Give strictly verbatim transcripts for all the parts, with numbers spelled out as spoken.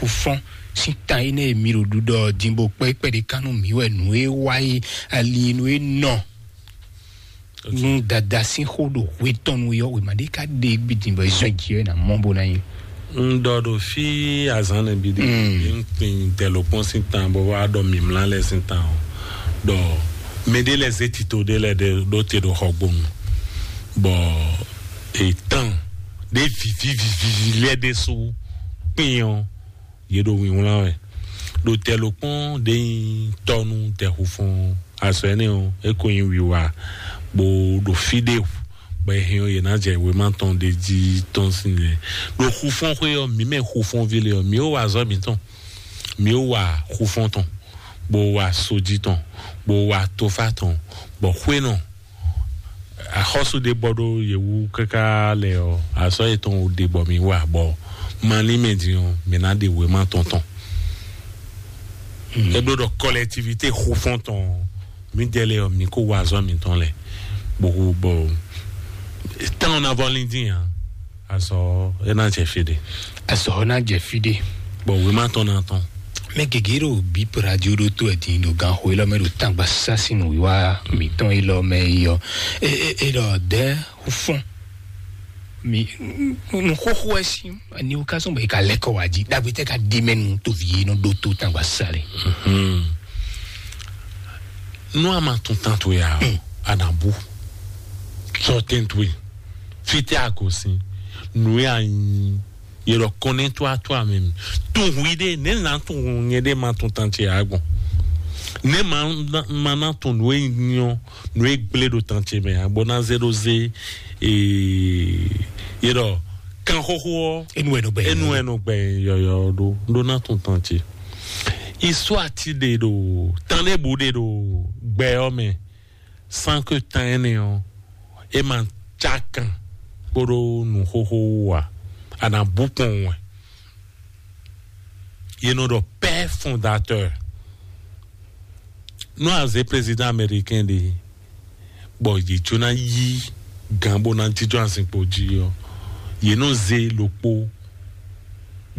fɔ́n sín tan énɛ́ e mi ɖo ɖuɖɔ din bó kpɛ́ kpɛɖé kan nú mǐ wɛ nǔ e wá yi ali nú e nɔ nú dada sín xó ɖo hwe tɔn nu yɔ wěma ɖé ka ɖe gbidin bɔ zɔn jì wɛ na mɔ bó ná nyi. Un ɖɔ ɖo fí azán nɛ bi ɖe, un kpin tɛlɔkpɔn sín tan bɔ wá ɖɔ mimla lɛ sín tan o. Ɖɔ mɛ ɖé lɛ zé tito ɖé lɛ ɖe ɖó te ɖo xɔgbonu bɔ etán ɖé vivivivi lɛ ɖé sú kpin ɔ yě ɖo wínwlán wɛ. Ɖo tɛlɔkpɔn ɖé nyi tɔnu tɛxufɔn azɔ énɛ́ ɔ́, é ko nyi wiwa bó ɖo fí ɖé bɔ è hɛn ɔ́ yě ná jɛ wěma tɔn ɖé jí tɔn sín lɛ. Ɖo xufɔ́n xwé ɔ́, mǐ mɛ xufɔ́nví lé ɔ́, mǐ ó wa azɔ̌ mǐtɔn, mǐ ó wa xufɔ́n tɔn, bó wa sojí tɔn, bó wa tofá tɔn, bɔ xwé nɔ axɔ́sú ɖé bɔ ɖó yě wú káká lɛ ɔ́, azɔ̌ yětɔn wú ɖe bɔ mǐ wa bɔ malín mɛ din ɔ́, mǐ ná ɖe wěma tɔn tɔn. É bló ɖɔ kɔlɛtivité xufɔ́n tɔn mǐdɛɛ lɛ ɔ́, mǐ kó wa azɔ̌ mǐtɔn lɛ bó bɔ tán ɔ́ ná vɔ lín dín ǎ. Azɔ̌ é ná jɛ fí ɖé. Azɔ̌ ɔ́ ná jɛ fí ɖé. Bɔ wěma tɔn ná tɔn. Mɛ gěgé ɖo bíp radio ɖó tó ɛ din ɖo gan xo élɔ́ mɛ ɖo tangba sásinu wíwá mǐtɔn élɔ́ mɛ yi ɔ́. É é é ɖɔ dɛ́ fɔ́n mi nu xóxó ɛ sí ni wo ká sɔn bɔ yi ka lɛ kɔ wá jí dagbe tɛ ka di mɛ nu to vi yi nɔ ɖó tó tangba sáré. Nú a ma tún tán towe ǎ, a nǎ bú. Sɔ tɛ́n towe. Fítɛ́ a gosín. Nǔ e a nyí. Yě ɖɔ kɔn nɛ́ tó a tó a mɛ mi. Tún hu ɖé, nɛ́ nǎ tún hu nyɛ ɖé ma tún tán ce ǎ gbɔn. Nɛ́ ma ma ná tún nǔ e nyɔ, nǔ e gblé ɖo tán ce mɛ ǎ, bó ná zé ɖó zé. Ee, yě ɖɔ kan xóxó ɔ́. Enu ɛ nɔ gbɛ. Enu ɛ nɔ gbɛ yɔyɔ ɖó ɖó ná tún tán ce. Isu ati ɖe ɖo tán ɖé bu ɖe ɖo gbɛ ɔ́ mɛ, san ke tán ɛnɛ ɔ́, é ma cá kan kpóɖó nǔxóxó wú ǎ. A nǎ bú kpɔn wɛ. Yě nɔ ɖɔ père fondateur. Nú a zě président américain ɖe, bɔ yě jó ná yí gǎn bó ná jínjɔ́n azinkpo jí ɔ́, yě nɔ zé ɖokpó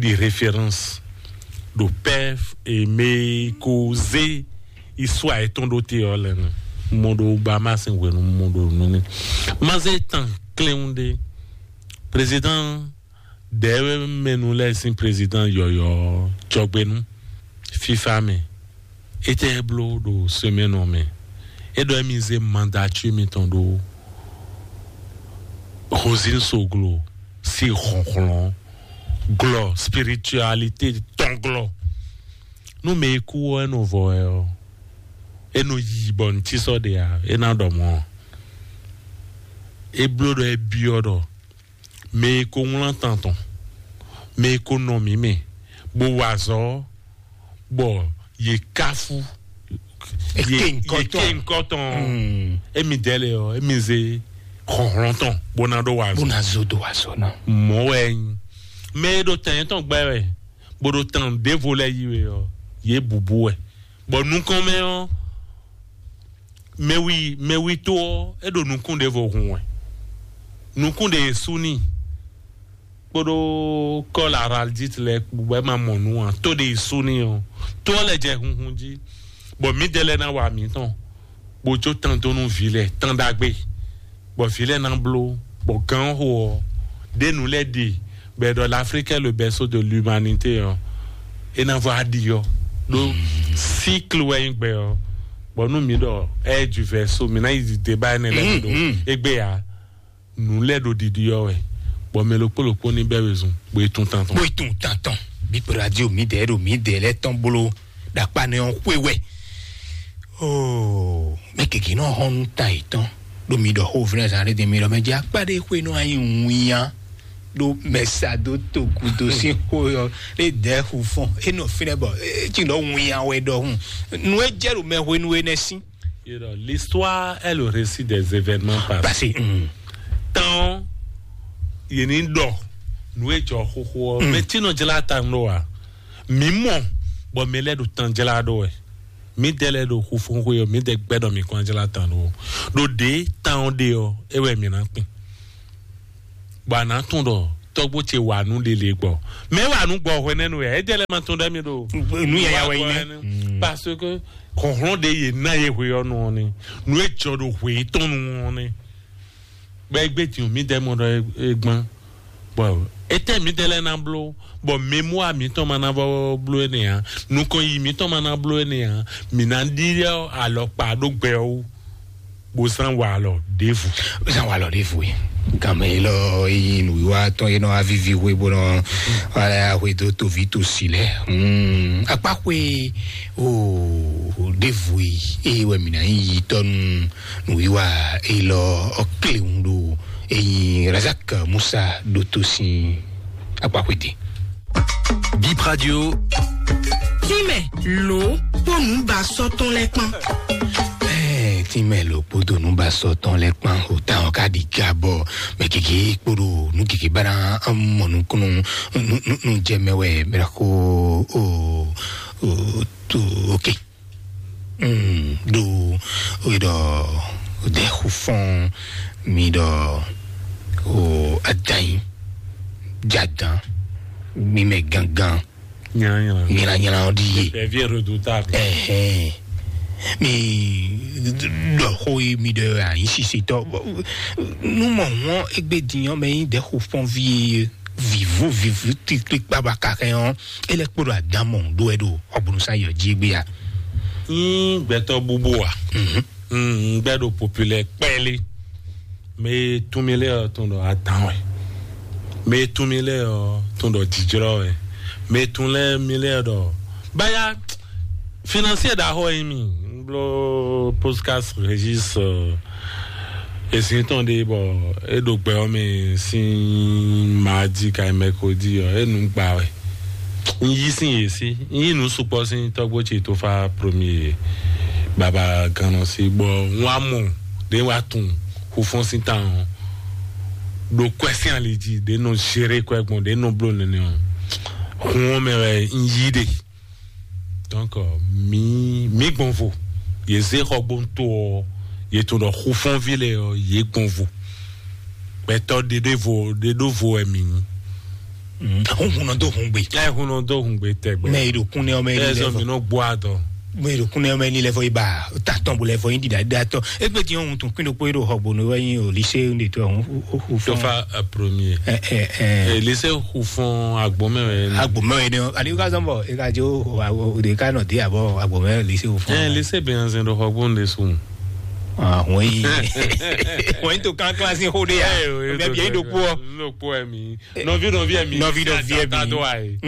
ɖi référence ɖo père e mɛ e ko zé histoire yětɔn ɖó te ɔ́ lɛ́ɛ nu. Mo ɖo Bahamas hwenu mo ɖo nu ní. Má zé tán klɛ́n ɖé. Président ɖɛ̌ mɛnu lɛ́ɛ sín président yɔ̌yɔ́ jɔgbénu fífá mɛ. Étɛ́ bló ɖo semaine ɔ́ mɛ? É ɖɔ émí zé mandature mitɔn ɖó Rosine Soglo sí hlɔ̌nhlɔ́n glɔ spiritualité tɔn glɔ. Nú mɛ e kú ɔ́, é nɔ vɔ wɛ ɔ́, é nɔ yi bɔ nǔ tí sɔ́ ɖe ǎ, é ná ɖɔ mɔ̌. É bló ɖɔ é byɔ́ ɖɔ mɛ e ko wlán tan tɔn, mɛ e ko nɔ mǐ mɛ, bó wa azɔ̌, bɔ yě káfú, Èké ŋkɔ tɔn. Èké ŋkɔ tɔn. Émi dɛ́ lɛ ɔ́, émi zé hlɔ̌nhlɔ́n tɔn bó ná ɖó wa azɔ̌. Bó ná zó dó wa azɔ̌ ná. Mɔ̌ wɛ é nyí. Mɛ e ɖo tɛn yětɔn gbɛ wɛ, bó ɖo tan ɖěvo lɛ́ɛ yí wɛ ɔ́, yě bǔbú wɛ. Bɔ nukɔn mɛ ɔ́, mɛwi mɛwi tó ɔ́, é ɖo nukún ɖěvo hun wɛ. Nukún ɖě sú n'i kpódó kɔ́ la araldite lɛ́ɛ kpó bɔ é ma mɔ nǔ ǎ. Tó ɖě sú n'i ɔ́, tó ɔ́ lɛ jɛ hunhun jí, bɔ mǐdɛɛ lɛ́ɛ ná wa mǐtɔn, bó jó tán dó nú vǐ lɛ́ɛ, tán ɖagbe, bɔ vǐ lɛ́ɛ ná bló, bɔ gǎn xo ɔ́, ɖé nǔ lɛ́ɛ ɖe, bɔ è ɖɔ l'Afrique est le berceau de l'humanité ɔ́, é ná vɔ aɖi ɔ́, ɖó cycle wɛ nyí gbɛ ɔ́, bɔ nú mǐ ɖɔ ɛ du verseau, mǐ ná yi débat énɛ́ lɛ́ɛ ɖo égbé ǎ. Nǔ lɛ́ɛ ɖo ɖiɖi ɔ́ wɛ, bɔ mɛ ɖokpó ɖokpó ní bɛ́ wezun, bó yi tún tantɔn. Bó yi tún tantɔn. Bípo radio mi dɛ ɖo mi dɛ lɛ tɔn blo ɖakpa nɛ ɔn xwe wɛ. Oo, mɛ keke nɔ hɔn nu ta yi tɔn ɖo mi ɖɔ xo vlɛ zan ɖe mi ɖɔ mɛ dzi akpa ɖe xwe nɔ anyi ŋuya ɖo mɛ sa do to gudo si xo yɔ ɖe dɛ xu fɔn enɔ fi nɛ bɔ etsi ɖɔ ŋuya wɛ ɖɔ hun nu e jɛ ɖo mɛ hwenu enɛ si. You know, l'histoire est le récit des événements passés. Passé. Tán yìí ní ɖɔ nú ejɔ xoxo ɔ mɛ tí nɔ jla ta nɔ wa mí mɔ bɔ mí lɛ ɖo tán jla ɖo wɛ mí dɛ lɛ ɖo xufun xwe ɔ mí dɛ gbɛ ɖɔ mí kɔn jla ta ɖo ɖo ɖe tán ɔ ɖe ɔ ewɛ mí ná kpin bɔ a nǎ tún ɖɔ tɔgbo ce wà nú lele gbɔ. Mɛ wà nú gbɔ hwɛ nɛnu yɛ, e jɛ lɛ ma tún dɛ mi ɖo. Nu yaya wɛ yi nɛ. Parce que kɔhlɔn de ye na ye hwe ɔnu ɔni. Nu e jɔ ɖo hwe tɔnu ɔni. Bɛ egbe tiɲɔ mi dɛ mɔ ɖɔ e gbɔn. Bɔn etɛ mi dɛ lɛ na blo. Bɔn memu a mi tɔn ma na vɔ blo ene ya. Nukɔn yi mi tɔn ma na blo ene ya. Mi na ɖi alɔkpa ɖo gbɛ o. Bó zán wa alɔ ɖěvo. Zán wa alɔ ɖěvo yi. Gàmɛ yi lɔ yi nùwíwá tɔn yi nɔ avivi hwe bó nɔ wala hwe dó tovi tosi lɛ. Hmm, akpa hwe o ɖěvo yi. Eye wɛ mi na yi yi tɔnu nùwíwá yi lɔ ɔkléhùn ɖo eyi Razak Musa ɖo tosi akpa hwe de. Bip Radio. Tínmɛ lǒ kpó nǔbasɔ́ tɔn lɛ́ɛ kpán. Ɛɛ, tínmɛ lǒ kpódó nǔbasɔ́ tɔn lɛ́ɛ kpán. O táwọn ká ɖi ga bɔ mɛ gěgé kpódó nú gěgé bá ná mɔ nukúnnú nú jɛ mɛ wɛ mɛ ko o o to oke. Mm, ɖo o ɖɔ o de xufɔn mi ɖɔ o adanyi jadan mi mɛ gangan. Nyanya. Nyanya ɔ di ye. Ɛvi redoutable. Ɛhɛn. Mi ɖɔ xó yi mi ɖe anyi sisitɔ. Nu mɔ hɔn egbe diyan mɛ yi de xufɔn vi vivo vivo tikli kpaba kakɛ ɔn. Ele kpɔɖɔ adamɔ ɖo ɛ ɖo ɔgbɔnusá yɔ jí gbé ya. Yín gbɛtɔ bubu a? Mhm. Mm, gbɛ ɖo populaire kpɛli. Mɛ tún mi lɛ ɔ tún ɖɔ adan wɛ. Mɛ tún mi lɛ ɔ tún ɖɔ jijrɔ wɛ. Mɛ tún lɛ mi lɛ ɖɔ baya financier ɖaxɔ yi mi. N blo podcast Régis, euh, ezin tɔn ɖe bɔ e ɖo gbɛ ɔ́ mɛ sín mardi ka mercredi ɔ e nu gba wɛ. N yí sín yě sí, n yí nǔ sukpɔ́ sín tɔ́gbó ce tó fá premier baba gannɔ sí bɔ n wá mɔ ɖé wá tún xufɔ́n sín tan ɔ́ ɖo kwɛ́ sín ali jí ɖé nɔ zéré kwɛ́ gbɔn ɖé nɔ bló nɛnɛ ɔ́ hun ɔ́ mɛ wɛ n yí ɖe. Donc, euh, mi mi gbɔn vo. Ye zé xɔgbóntó ɔ ye to ɖɔ xufɔnvi lɛ ɔ ye gbɔn vo. Gbɛtɔ ɖeɖe vo ɖeɖo vo wɛ mi nyi. Hun hun nɔ do hun gbe. Ɛ hun nɔ do hun gbe tɛgbɛ. Mɛ yi ɖo kun nɛ ɔmɛ yi lɛ fɔ. Ɛzɔ mi nɔ gbɔ adɔ. Mɛ yi ɖo kun nɛ ɔmɛ yi lɛ fɔ yi ba tatɔn bo lɛ fɔ yi ɖiɖa ɖiɖa tɔ. Egbe ti yɔn hun tun kun ɖo kpo yi ɖo xɔgbónu wɛ yi o lycée de to hun hu hu fɔ. Tofa premier. Ɛ ɛ ɛ. Lycée hu fɔn agbɔmɛ wɛ. Agbɔmɛ wɛ ne. Ani ka zɔn bɔ e ka jo o de ka nɔ de abɔ agbɔmɛ lycée hu fɔn. Ɛ lycée bɛ yan zɛn ɖo xɔgbónu de sun. Ah, wọ́n yìí wọ́n yìí tó kánkán sí hóde yá. Mɛ bí yẹn ɖo kpó ọ. Ló kpó ẹ mi. Nɔvi nɔvi ẹ mi. Nɔvi nɔvi ẹ mi. Tado ayi.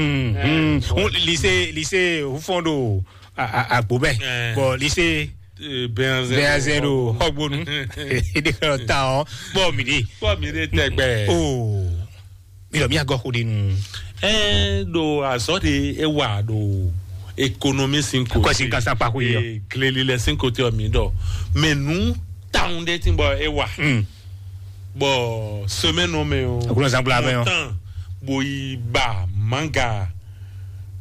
Lycée lycée hufɔn ɖo agbo bɛ. Bɔn lycée bɛnzɛn ɖo xɔgbonu. Eɖe xɔ ta ɔ bɔ mi ɖe. Bɔ mi ɖe tɛgbɛ. Oo. Mi lɔ mi agɔ xo ɖe nu. Ɛ ɖo azɔ de e wa ɖo économie sin ko. Kɔsi kasa kpa ko yɔ. Gleli lɛ sin ko te ɔ mi ɖɔ. Mɛ nu taun de ti bɔ e wa. Bɔ semaine ɔ mɛ o. Akunɔ zangbla mɛ o. Tan bo yi ba manga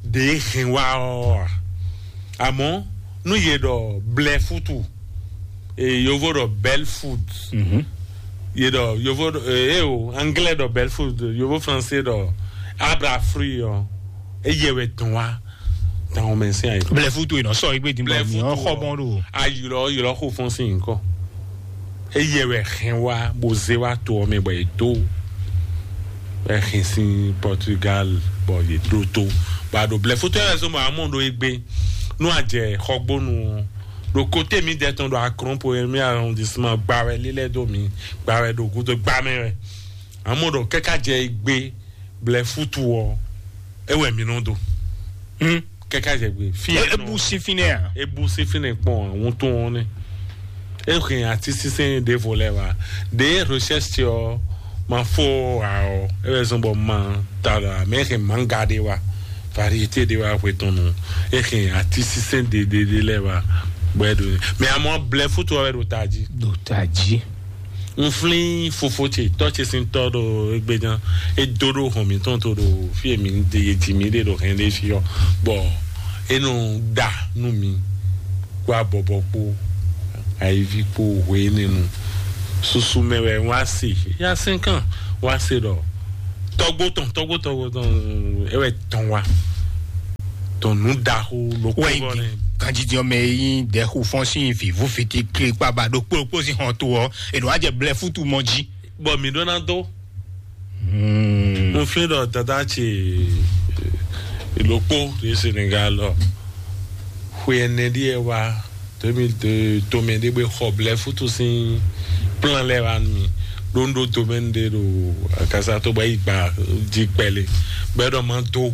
de hɛn wa ɔ. Àmọ́ nú yě ɖɔ blɛ fútu, e yovo ɖɔ belle food. Yě ɖɔ yovo ɖɔ e o anglais ɖɔ belle food, yovo français ɖɔ abra fruit ɔ. Eye wɛ tɔn wa tan o mɛ sin ayi. Blɛ fútu yìí nɔ sɔ igbe dìbò mi ɔ xɔ bɔn ɖo. Ayilɔ yilɔ xo fɔn sin nkɔ. Eye wɛ hɛn wa bo ze wa to ɔ mɛ bɔ e do. Ɛ hɛn sin Portugal bɔ ye do to. Ba ɖo blɛ fútu yɛ wɛ zɔn bɔ amɔ ɖo egbe. Nú a jɛ xɔgbónu ɔ. Ɖo kote mi dɛ tɔn ɖo akrɔn po mi arrondissement gba wɛ lilɛ do mi gba wɛ ɖo gudo gba mɛ wɛ. Amɔ ɖo kɛka jɛ egbe blɛ fútu ɔ. E wɛ mi nɔ do. Kɛka jɛ gbe fi. E bu si fi nɛ a? E bu si fi nɛ kpɔn àwọn tó wọn nɛ. E hɛn ati sísɛn ɖe vo lɛ wa. Ɖe recherche ɔ ma fo a ɔ. E wɛ zɔn bɔ ma ta la mɛ hɛn manga ɖe wa. Variété ɖe wa hwe tɔn nɔ. E hɛn ati sísɛn ɖe ɖe ɖe lɛ wa. Bɔ e ɖo mɛ amɔ blɛ fútu ɔ wɛ ɖo ta jí. Ɖo ta jí. N flín fofo ce tɔ́ ce sín tɔ́ ɖo égbé gán. É dó ɖó hɔn mǐtɔn tó ɖo fí e mǐ ɖe e ji mǐ ɖe ɖo hɛn ɖé fí ɔ́, bɔ é nɔ ɖa nú mǐ kpó abɔbɔ kpó ayíví kpó hwe énɛ́ nu. Susu mɛ wɛ wá se, yá sɛ́n kàn wá se ɖɔ Tɔgbo tɔn, tɔgbo tɔgbo tɔn, ewɛ tɔn wa. Tɔn nu daxo loko wɛ bɔ ne. Ganjidi ɔmɛ yi dɛxu fɔn sin vivu fiti klikpa ba ɖokpó ɖokpó sin hɔn to ɔ, ènù ajɛ blɛ futu mɔ jí. Bɔ mi ɖó ná dó. Hmm. Mo fi ɖɔ dada ce loko de Senegal lɔ. Xwe ɛnɛ ɖíe wá deux mille deux, tomɛ ɖé gbé xɔ blɛ futu sín plan lɛ́ɛ wá nú mi. Ɖó ń ɖó domaine ɖé ɖo akasa tó bɔ yi gba jí kpɛlɛ bɔ ɛ ɖɔ ma dó.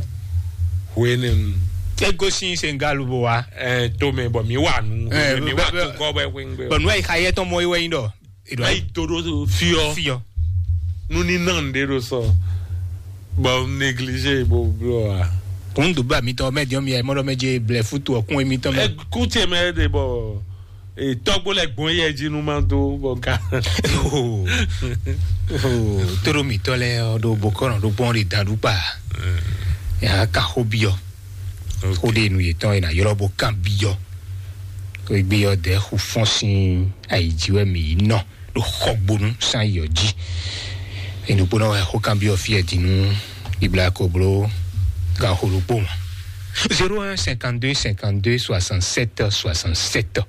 Hwenɛnu. Ego sin Senegal bó wa. Ɛ, tomɛ bɔ mi wà nù. Ɛ, mi wà bɛ- tó kɔ bɛ wéngbé. Bɔn nua yi xa yɛ tɔn mɔ yi wɛ yin dɔ. Ayi to ɖo fiɔ. Fiɔ. Nu ní nɔ ŋɖe ɖo sɔ. Bɔ négligé bo blɔ wa. Kún dùbà mi tɔ mɛ diɔ mi ɛ mɔdɔ mɛ je blɛ futu ɔkún emi tɔ mɛ. Ɛ kú tiɛ mɛ de bɔ. Tɔgbo lɛ gbɔn yɛ jí nu ma dó bɔ ká. Tóɖó mǐtɔn lɛ ɔ́ ɖo bokɔnɔ ɖó gbɔn ɖe dan ɖu kpa. Yà ka xó byɔ. Xó ɖe nu yětɔn yìí ná ylɔ́ bó kan byɔ. Kó gbé yɔ dɛ xu fɔ́n sín ayi jí wɛ mǐ yi nɔ ɖo xɔgbonu sín ayi ɔ́ jí. Enukpónɔ wɛ xó kan byɔ fí ɛ din nú ibla ko bló gan xó ɖokpó mɔ. Zéro un cinquante deux cinquante deux soixante sept soixante sept.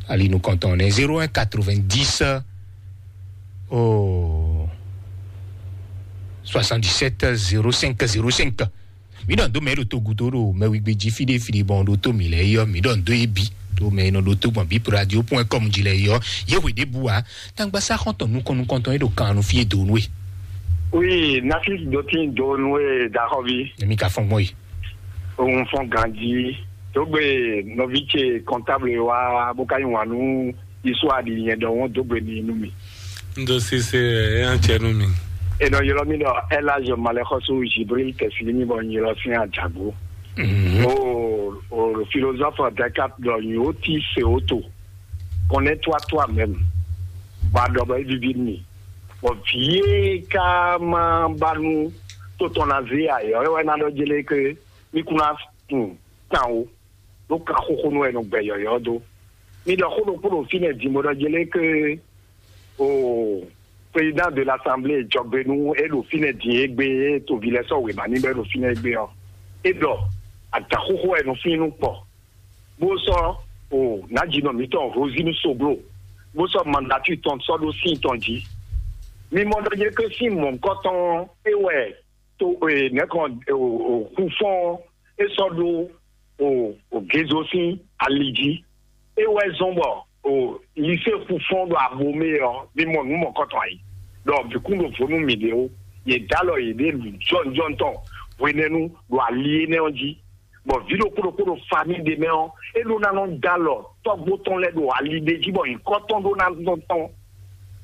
Ali nukɔntɔn nɛ zéro un quatre vingt dix oh, soixante dix sept zéro cinq zéro cinq. Mi ɖɔ ndo mɛ ɖo togudo ɖo mɛwigbe jí fiɖe fiɖe bɔn ɖo to mi lɛ yɔ mi ɖɔ ndo ebi ɖo mɛ nɔ ɖo to gbɔn bip radio point com jí lɛ yɔ. Ye hwe ɖe bu wa tangba sa xɔntɔn nukɔn nukɔntɔn ye ɖo kan nu fie do nue. Oui, Nafis Dotin do nue daxɔvi. Emi ka fɔn gbɔn yi. Ohun fɔn ganji. Dogbe nɔvi ce comptable wa bó ka nyi wǎn nú Isu aɖi nyɛ ɖɔ wọ́n dó gbe n'i nú mì. Un ɖo sise ɛ, é ná jɛ nú mi. È nɔ ylɔ́ mì ɖɔ Elage Malexɔsu Jibril Tɛsilimi bɔ un ylɔ́ sín Adjagbo. O, o philosophe Descartes ɖɔ nyɔ̌ tí se ó to. Connais-toi toi-même. Bɔ a ɖɔ bɔ é víví nú mì. Bɔ vǐ e ka ma ba nú tó tɔn ná zé ayɔ́ é wɛ ná ɖɔ jélé ké mí kún ná tunwun tán o. Ɖó kan xóxó nú wɛ nɔ gbɛ yɔ̌yɔ́ dó. Mi ɖɔ xó ɖokpó ɖo fínɛ́ din bó ɖɔ jɛ lé ké o président de l'assemblée jɔgbenu e ɖo fínɛ́ din e gbé e tovi lɛ sɔ́ wěma ní bɔ é ɖo fínɛ́ e gbé ɔ́. É ɖɔ adǎn xóxó wɛ nɔ fín nú kpɔ. Bó sɔ́ o nǎjínɔ mǐtɔn Rosine Soglo bó sɔ́ mandatú tɔn sɔ́ ɖó sín tɔn jí. Mi mɔ ɖɔ jɛ ké sín mɔ̌hunkɔtɔn é wɛ to e nɛkɔn o o xufɔn e sɔ ɖo o o gezo sín ali jí. E wɛ zɔn bɔ o lise xufɔn ɖo abomɛ ɔ mi mɔ nǔ mɔkɔtɔn ayi ɖɔ bikún ɖo vo nú mi ɖe o ye dalɔ ye ɖe jɔnjɔn tɔn hwenɛnu ɖo ali énɛ́ ɔ́ jí. Bɔ vǐ ɖokpó ɖokpó ɖo fami ɖe mɛ ɔ́ é ɖó ná nɔ dalɔ tɔgbo tɔn lɛ ɖo ali ɖe jí bɔ nyǐkɔ tɔn ɖó ná nɔ tɔn.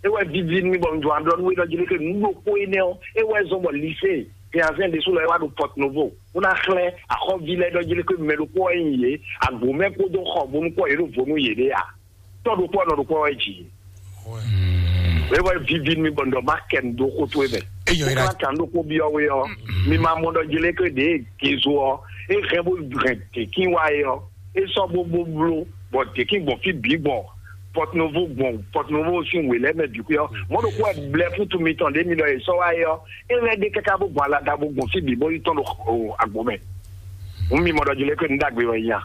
É wɛ vivi nú mi bɔ un jɔ aɖɔ nú we ɖɔ jlé ke nǔ ɖokpó énɛ́ ɔ́ é wɛ zɔn bɔ lise fianzɛn ɖésú lɔ é wá ɖo Porto Novo bó ná xlɛ́ axɔ́ví lɛ́ɛ ɖɔ jlé ke mɛ ɖokpó wɛ nyi yě agbǒmɛ kpódó xɔ bónú kpɔ́ yě ɖo vo nú yěɖée a. Tɔ́ ɖokpó ɔ́ nɔ ɖokpó wɛ jǐ. É wɛ vivi nú mi bɔ un ɖɔ má kɛ nu dó xó towe mɛ. Eyɔ é ná kan ɖokpó byɔ́ we ɔ́ mi ma mɔ ɖɔ jlé ke ɖě gezo ɔ́ é hɛn bó hɛn děkín wá é ɔ́ é sɔ́ bó bó bló bɔ děkín gbɔn fí bǐ gbɔn Porto Novo gbɔn Porto Novo sín wě lɛ́ɛ mɛ bǐ xwé ɔ́ mɔ̌ ɖokpó wɛ blɛ́ fútu mitɔn ɖě mi ɖɔ è sɔ́ wá é ɔ́ é lɛ́ ɖe káká bó gbɔn alada bó gbɔn fí bǐ bó yi tɔn ɖo agbo mɛ. Hǔn mi mɔ ɖɔ jlé ke nǔ ɖagbe wɛ nya.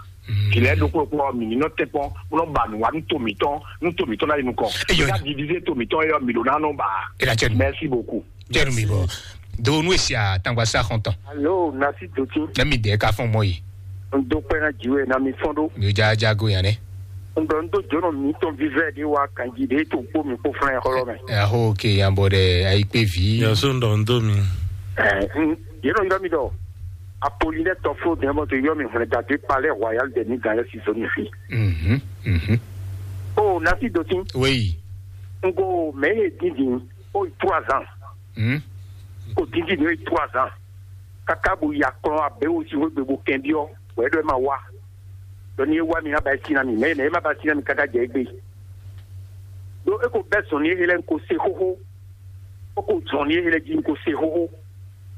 Vǐ lɛ́ɛ ɖokpó ɖokpó ɔ́ mǐ ní nɔ tɛ́nkpɔ́n bó nɔ ba nǔ wá nú to mǐtɔn nú to mǐtɔn ná yi nukɔn. Eyɔ. Ká divize to mǐtɔn é ɔ́ mǐ ɖo ná nɔ ba. Ela cɛ nu. Merci beaucoup. Cɛ nu mi bɔ. Do nu esi atangba sa xɔntɔn. Alo nasi doti. Ne mi dɛ ka fɔn mɔ yi. N do kpɛ na jiwe na mi fɔn do. Mi ja ja go yan ne. N dɔ n do jono mi tɔn vivɛ de wa kanji de to kpo mi kpo flan xɔlɔ mɛ. Ɛ ho ke yan bɔ dɛ ayi kpe vi. Yaso n dɔ n do mi. Ɛ n yeno yɔ mi dɔ. Apolinɛ tɔfo dɛmɔ to yɔ mi hwlɛ dade palais royal de ni gan yɛ si zoni fi. Mhm mhm. O nasi doti. Oui. N ko mɛ ye dindin o trois ans. Hmm. Ko dindin no e trois ans. Kaka bo ya kplɔn abe wo si wegbe bo kɛn biɔ wɛ ɖɔ e ma wa. Dɔ ni e wa mi na ba e si na mi mɛ mɛ e ma ba si na mi kaka jɛ egbe. Do e ko bɛ zɔn ni e lɛ ko se xoxo. O ko zɔn ni e lɛ ji ko se xoxo.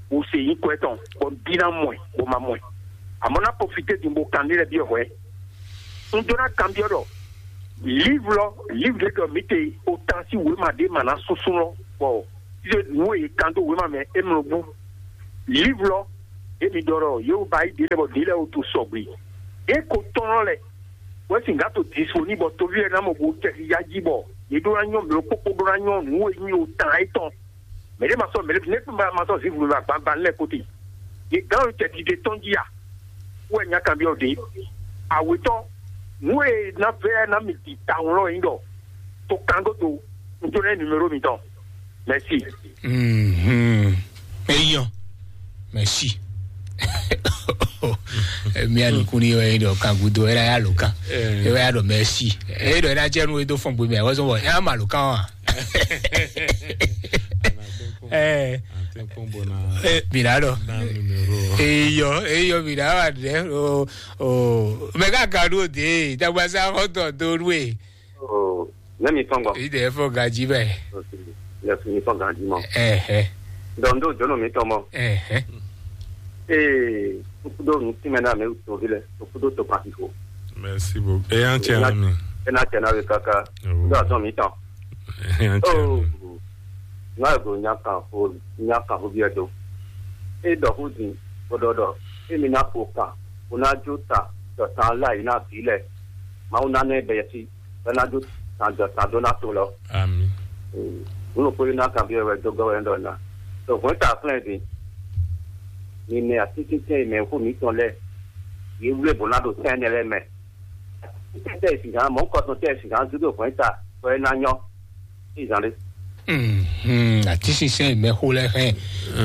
Wo se yi kɔ etɔn bɔ n bi na mɔ ɛ bɔ ma mɔ ɛ. Amɔ na profite din bo kan ni lɛ biɔ hwɛ. N do na kan biɔ dɔ livre lɔ livre de dɔ mi te o tan si wema de ma na susu lɔ bɔ Nǔ e yě kan dó wěma mɛ é mlɔ gbɔn. Livre lɔ, emi ɖɔ ɖɔ yě wú ba yi ɖě lɛ bɔ ɖě lɛ wú to sɔgbe. Ɖě ko tɔn lɛ wɛ sin gǎ to dispo ní bɔ toví lɛ ná mɔ bo tɛ ya jí bɔ yě ɖó ná nyɔ mlɔ kpókpó ɖó ná nyɔ nǔ e nyí o tan étɔn. Mɛ ɖé ma sɔ mɛ ɖé ne ma ma sɔ zivu ma gbangban lɛ kote. Yě gán o tɛ dide tɔn jí a. Wɛ nya kan biɔ ɖě. Awetɔ, nǔ e ná vɛ ná mi di tawun lɔ yín ɖɔ to kan godo. N to lɛ numéro mitɔn. Merci. Mhm. Eyɔ. Merci. Mía nukun ni wɛ ɖɔ kan gudo ɛ ya lo kan. Ɛ wɛ ya ɖɔ merci. Ɛ ɖɔ ɛ na jɛ nu e do fɔn gbe mɛ wɛ zɔn bɔ ɛ ma lo kan wa. Ɛ. Ɛ mi na ɖɔ. Eyɔ eyɔ mi na wa ɖɛ o o mɛ ka ka ɖo de dagba sa xɔ tɔ do nu e. Oh, ne mi tɔn gbɔ. Yi de fɔ gaji bɛ. Yes, mi tɔn gaji mɔ. Ɛhɛ. Donc do jono mi tɔn mɔ. Ɛhɛ. Ee, kukudo mi ti mɛ na mi to vi lɛ, kukudo to pa fifo. Merci beaucoup. E yan cɛ na mi. E na cɛ na we kaka. Do azɔn mi tɔn. E yan cɛ. Oh. Na go nya kan fo, nya kan fo bi do. E dɔ hu din, o dɔ dɔ. E mi na fo kan, o na jo ta, dɔ tan la yi na vi lɛ. Mawu na ne bɛ yɛsi. Bɛ́ ná dó tando tando ná to lɔ. Ami. Nunu kpódó ná kan byɔ́ wɛ dó gɔ́ wɛ ɖɔ ná. Ɖo hwɛ̌n ta flɛ́n din. Mi mɛ atínsínsɛ́n e mɛ xó mǐtɔn lɛ́ɛ, yě wlé bǒ ná ɖo tɛ́nnɛ lɛ́ɛ mɛ. Atínsínsɛ́n e sǐgán mɔ̌ kɔtɔn tɛ́ e sǐgán dó ɖo hwɛ̌n ta, bɔ é ná nyɔ́. Ìzán ɖé. Mhm, atínsínsɛ́n e mɛ xó lɛ́ɛ hɛn.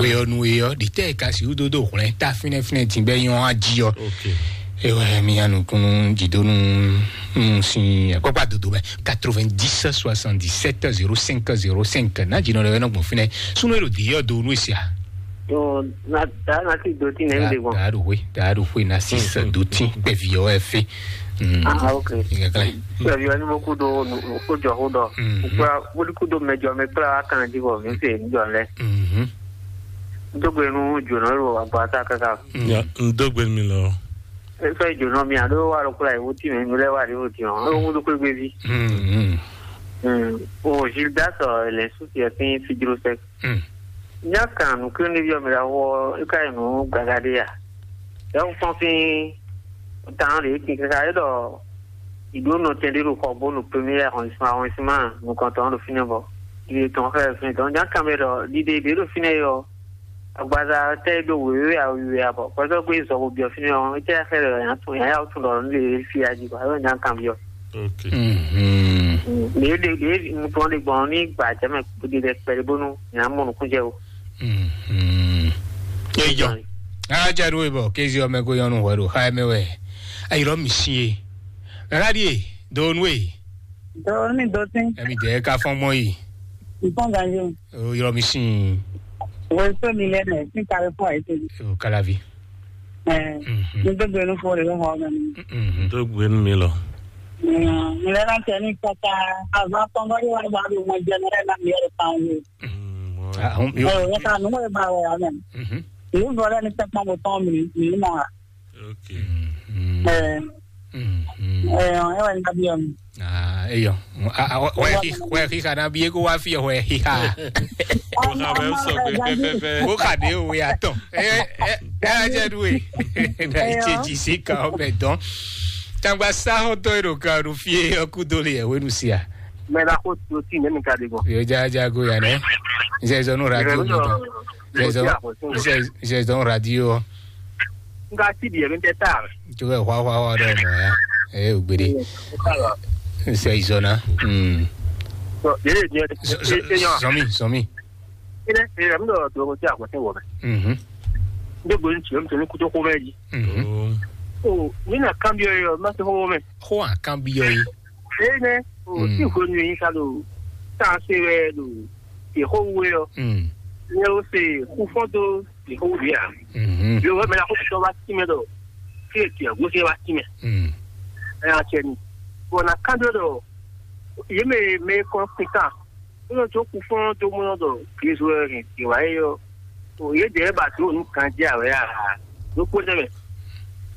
Weyɔnu e ɔ́, ɖi tɛ́ e ka sixú dó dó hwlɛ́n ta fínɛ́fínɛ́ din bɛ́ nyɔ́ á jí ɔ́. Ok. Ewɛ mi ya nukúnnú jidonu. Sin akpakpa dodo mɛ quatre-vingt-dix soixante-dix-sept zéro cinq zéro cinq. N'a dzi nɔ ɖe wɛ nɔ gbɔn fínɛ. Sunu elo di yɔ do nu sia. Yo, na da na ti do ti nɛ mi de gbɔn. Da do hwe, da do hwe na six do ti kpɛvi yɔ wɛ fe. Ah, ok. Iga kala. Kpɛvi yɔ ni mo ku do ko jɔ ko dɔ. Kpla woli ku do mɛ jɔ mɛ kpla wa kan di bɔ mi se ni jɔ lɛ. Mhm. Dogbe nu jona lo agba ta kaka. Ya, n dogbe mi lɔ. Eso ijo nɔ mi ado wa lo kula iwu ti mɛ mi lɛ wa de wo ti ɔ lo ŋu do kpegbe vi. Mm. O Gildas ɔ lɛ su ti ɛ fin fidro sɛ. Mm. Nya kan nu kiri ni bi ɔ mi la wɔ e ka yi nu gaga de ya. Ya wo fɔn fin tan de ti kaka e dɔ ido nɔ tɛn de do kɔ bo nu premier arrondissement arrondissement nu kɔntɔn do fine bɔ iye tɔn fɛ fin tɔn nya kan bɛ dɔ dide de do fine yɔ. Agbaza tɛ ɖo wěwé awiwe abɔ kpɛtɔ gbé zɔ ko biɔ fínɛ ɔ etɛ xɛ lɛ yàn tún yàn yà tún lɔ nílé fi aji kɔ ayɔ nyà kan biɔ. Ok. Mhm. Mɛ ɖe ɖe nukplɔn ɖe gbɔn ní gbà jɛ mɛ kpéɖé ɖe kpɛɖé bónú nyà mɔ nukún jɛ o. Mhm. Eyɔ. Aja ɖo ebɔ kézi ɔmɛ ko yɔnu hwɛ ɖo xa ɛmɛ wɛ. Ayirɔ mi si ye. Rárá ɖie do nu e. Dɔwɔ mi dɔ tɛn. Ɛmi dɛ ka fɔn mɔ yi. Nǹkan gàdé o. O yɔrɔ mi sin. Wọ́n tó mi lẹ́nu ẹ̀ sí kárí fún àìsè. O kalavi. Ẹ̀ Mhm. Ní gbogbo inú fún rẹ̀ ló hàn ọ́nà mi. Mhm. Tó gbé nu mi lọ. Ǹlẹ́ náà tẹ̀ ní kọ́kà àbá pọ́nbọ́dé wà bá mi mọ jẹ́ mẹ́rẹ́ náà mi ẹ̀rọ kan wò. Mm, mo- Ah, hum, Ẹ̀ yo. Ò yẹ ká nù wọ́n bá wọ̀ ọ́nà. Mhm. Ìlú bọ̀dọ̀ ní pẹ́pọ́n mo tán mi mi mọ̀ wá. Ok. Mhm. Ẹ̀ Mhm. Ẹ̀ Ẹ̀ wà ní abiyọ̀ mi. Ah, eyɔ. Ah, ah, wɛ hi wɛ hi kana bi ko wa fi wɛ hi ha. Ko ha bɛ sɔ pɛpɛpɛ. Ko ka de o ya tɔn. Eh eh eh aje du e. Na iche ji si ka o bɛ dɔn. Tangba sa ho to ero ka ru fie o ku do le e wenu sia. Mɛ na ko to ti ne mi ka de gbɔn. Yo ja ja go ya ne. Nse zɔnu radio mi tɔn. Nse zɔnu radio. Nga ti di emi tɛ ta. Tu bɛ hwa hwa hwa dɔ mɔ ya. Eh, ugbede. Nse izɔna. Hmm. Yele ni e e e yan. Sɔmi sɔmi. Ine e emi dɔ dɔ ko ti a ko ti wɔ bɛ. Mhm. Ndo gbe nti emi to ni kuto ko bɛ ji. Mhm. Oh. O mi na kan bi yo ma se ko bɛ. Ho a kan bi yo yi. Ene o ti ko ni ka do. Ta se we do. Ti ko we yo. Mm. Ne o se ku fo do. Yehowa. Mhm. Yehowa mɛ la ko tɔ wa ti mɛ dɔ. Fi e tiɛ gosɛ wa ti mɛ. Mm. Ɛ a cɛ ni. Bɔn na kan do dɔ. Ye mɛ mɛ kɔ kuta. Ko nɔ to ku fɔn to mɔ dɔ. Kristu ɛ ni ti wa ye yɔ. O ye dɛ ba to nu kan jɛ awɛ a. Do ko dɛ mɛ.